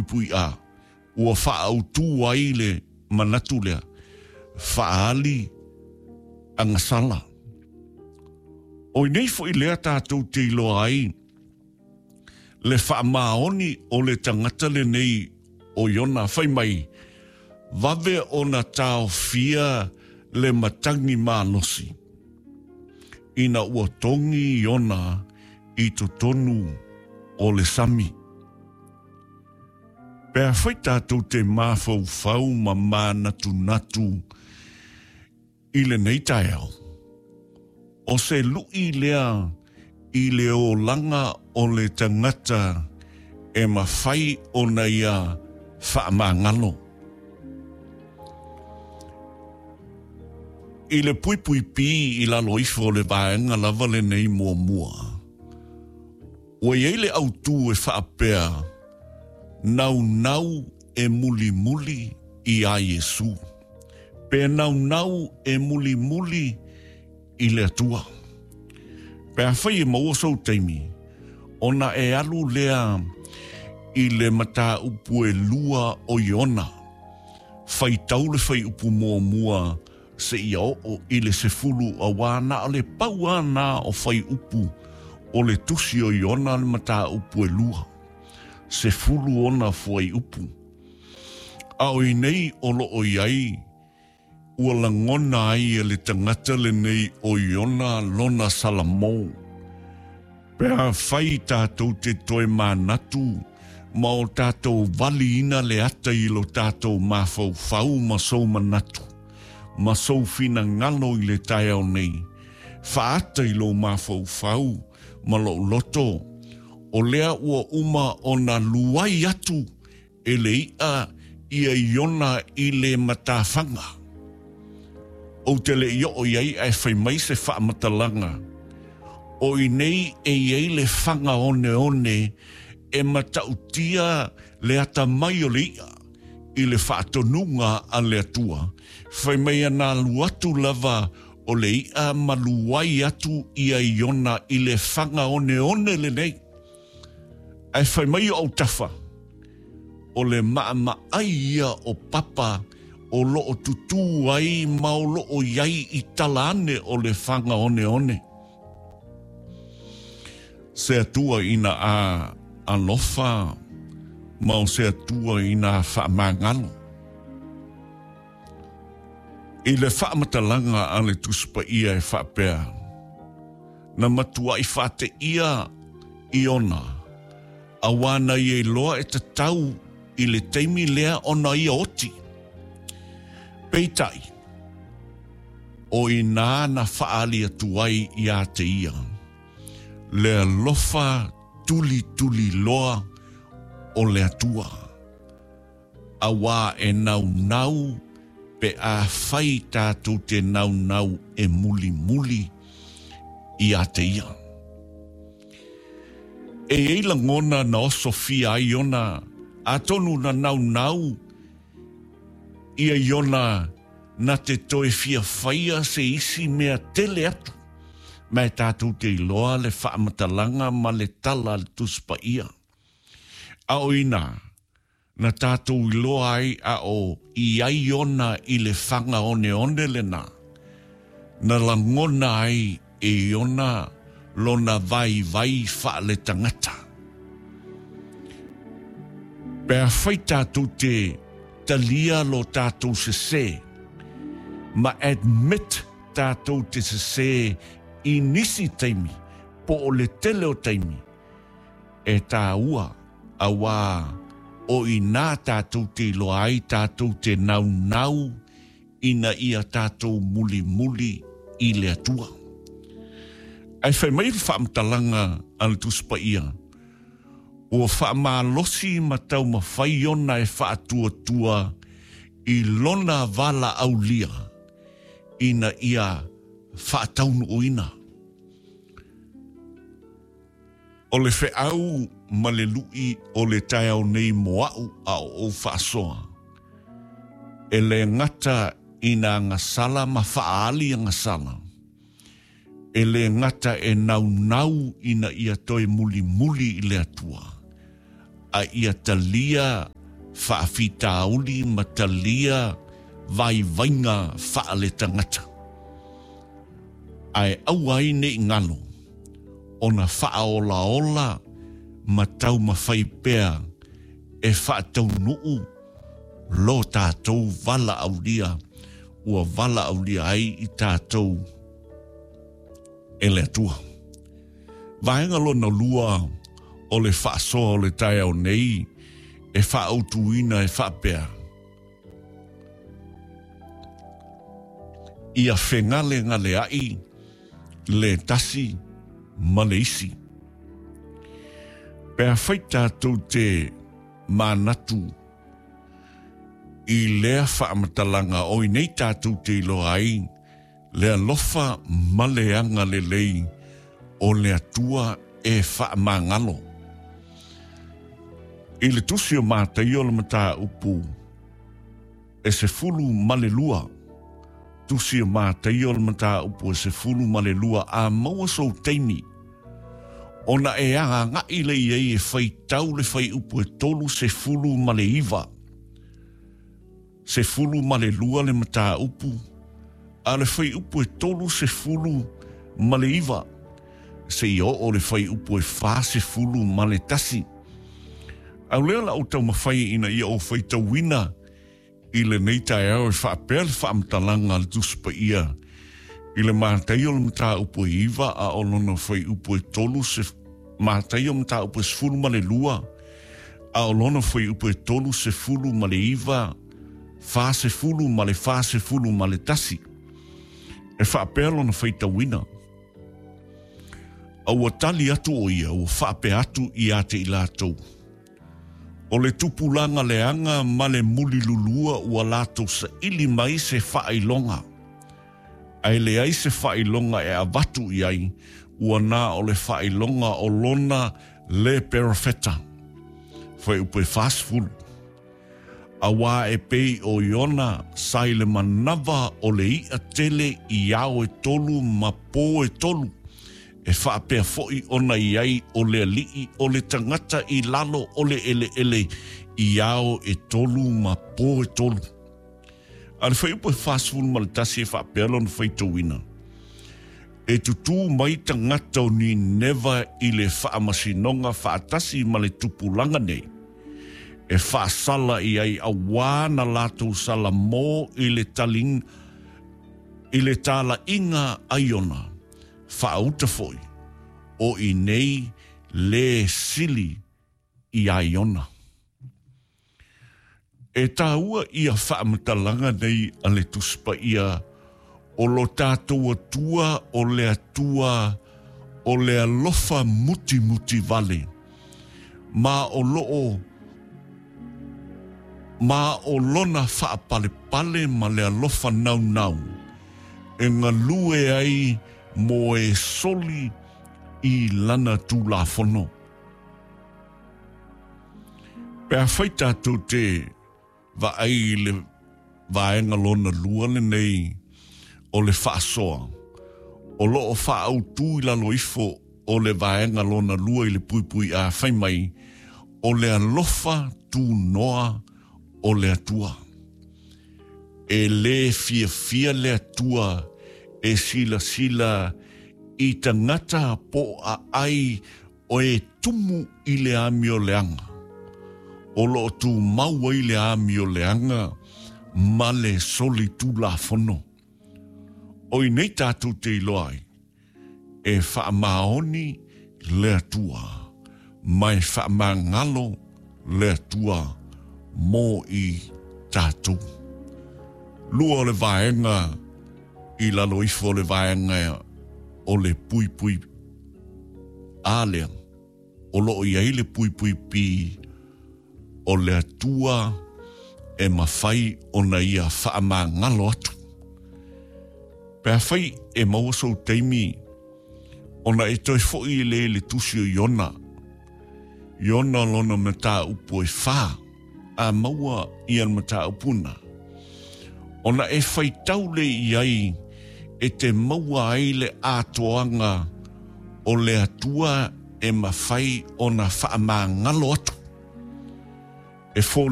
puipui A, ua faaautu ai le manatu lea, faaali agasala. O i nei foi lea tatou te iloa ai le faamaoni o le tagata lenei o Iona, fai mai, vave ona taofia le matagi malosi ina ua togi Iona i totonu o le sami. Pe afai tatou te mafaufau ma manatunatu i lenei taeao, o se luʻi lea i le olaga o le tagata e mafai ona ia faamagalo. I le puipui pī i lalo ifo o le vaega lava lenei muamua, ua i ai le autu e faapea, Naunau e mulimuli iā Iesū. Pe naunau e mulimuli i le Atua. Pe afai e maua sou taimi, ona e alu lea i le mataupu e lua o Iona, faitau le fuaiupu muamua seia oo i le 10, auā na o le pau lava na o fuaiupu o le tusi o Iona le mataupu e lua, 10 ona fuaiupu. A o i nei o lo o i ai, ua lagona ai e le tagata lenei o Iona lona Salamo. Pe afai tatou te toe manatu ma o tatou valiina le ata i lo tatou mafaufau ma sou manatu, ma sou finagalo i le taeao nei, faaata i lou mafaufau ma lou loto, o lea ua uma ona luai atu e le iʻa ia Iona i le matafaga. Ou te le i oo i ai ae fai mai se faamatalaga, o i nei e i ai le faga oneone e matautia le atamai o le iʻa i le faatonuga a le Atua, fai mai ana alu atu lava o le iʻa ma luai atu ia Iona i le faga oneone lenei. Ae fai mai o autafa, o le maʻamaʻai ia o Papa o lo o tutū ai ma o lo o i ai i tala ane o le faga oneone. Se Atua ina a alofa ma o se Atua ina a faamagalo. I le faamatalaga a le Tusi Paia e faapea, Na matuai faateia Iona, auā na ia iloa e tatau i le taimi lea ona ia oti. Peitai, o inā na faaali atu ai iā te ia, le alofa tulituli loa o le Atua. Auā e naunau pe afai tatou te naunau e mulimuli iā te ia. E i ai lagona na osofia ai ona, atonu na naunau ia Iona na te toe fia faia se isi mea tele atu, ma e tatou te iloa le faamatalaga ma le tala a le Tusi Paia. A o inā, na tatou iloa ai a o i ai ona i le faga oneone lena, na lagona ai e Iona lona vaivai faaletagata. Pe afai tatou te talia lo tatou sesē, ma admit tatou te sesē i nisi taimi po o le tele o taimi, e tāua, auā o inā tātou te iloa ai tātou te naunau ina ia tātou mulimuli i le Atua. Ae fai mai le faamatalaga a le Tusi Paia, ua faamalosi ma taumafai ona e faatuatua i lona valaaulia ina ia faataunuuina. O le feau ma le luʻi o le taeao nei mo aʻu a o ou faasoa, e le gata i nā agasala ma faaali agasala, e le gata e naunau ina ia toe mulimuli i le Atua, a ia talia faafitauli ma talia vaivaiga faaletagata. Ae aua ai ne i galo ona faaolaola ma taumafai pea e faataunuu lo tatou valaaulia ua valaaulia ai i tatou e le Atua. Vaega lona lua o le faasoa o le taeao nei e faaautuina e faapea, Ia fegalegaleai le tasi ma le isi. Pe afai tatou te manatu i lea faamatalaga o i nei tatou te iloa ai le alofa ma le agalelei o le Atua e faamagalo. I le tusi o Mataio le mataupu e 12, tusi o Mataio le mataupu e 12, a maua sou taimi, ona e agagai lea i ai e faitau le fuaiupu e 39. 12 le mataupu, a le fuaiupu e 39, seia oo le fuaiupu e 41. A o lea la ou taumafai ina ia ou faitauina i lenei taeao e faapea le faamatalaga a le Tusi Paia i le Mataio le mataupu e 9 a o lona fuaiupu e 3 se Mataio mataupu e 12 a o lona fuaiupu e 39, 40 ma le 41. E faapea lona faitauina. A ua tali atu o ia, ua faapea atu ia te i latou, O le tupulaga leaga ma le mulilulua ua latou saili mai se faailoga, ae leai se faailoga e avatu i ai, ua na o le faailoga o lona le perofeta. Fuaiupu e 40. Auā e pei o Iona sa i le manava o le iʻa tele i ao e tolu ma pō e tolu, e faapea foʻi ona i ai o le aliʻi o le tagata i lalo o le ʻeleʻele i ao e tolu ma pō e tolu. A le fuaiupu e 41 e faapea lona faitauina, E tutū mai tagata o Nineva i le faamasinoga faatasi ma le tupulaga nei, e faasala i ai auā na latou salamō i le taling, i le talaiga a Iona, faauta foi, o i nei lē sili iā Iona. E tāua ia faamatalaga nei a le Tusi Paia o lo tātou Atua o le Atua o le alofa mutimuti vale, ma o loo ma o lona faapalepale ma le alofa naunau e galue ai mo e soli i lana Tulafono. Pe afai tatou te vaai i le vaega lona lua lenei o le faasoa, o lo o faaautu i lalo ifo o le vaega lona lua i le puipui A fai mai, o le alofa tunoa o le Atua. E lē fiafia le Atua e silasila i tagata po o aai o e tumu i le amioleaga, o lo o tumau ai le amioleaga ma le solitulafono. O i nei tatou te iloa ai, e faamaoni le Atua, ma e faamagalo le Atua mo i tatou. Lua o le vaega i lalo ifo o le vaega o le puipui A lea, o lo o i ai le puipui P o le Atua e mafai ona ia faamagalo atu. Pe afai e maua sou taimi ona e toe foʻi lea i le tusi o Iona, Iona lona mataupu e fa, a maua ia le mataupu na, ona e faitau lea i ai e te maua ai le atoaga o le Atua e mafai ona faamagalo atu. E foliga.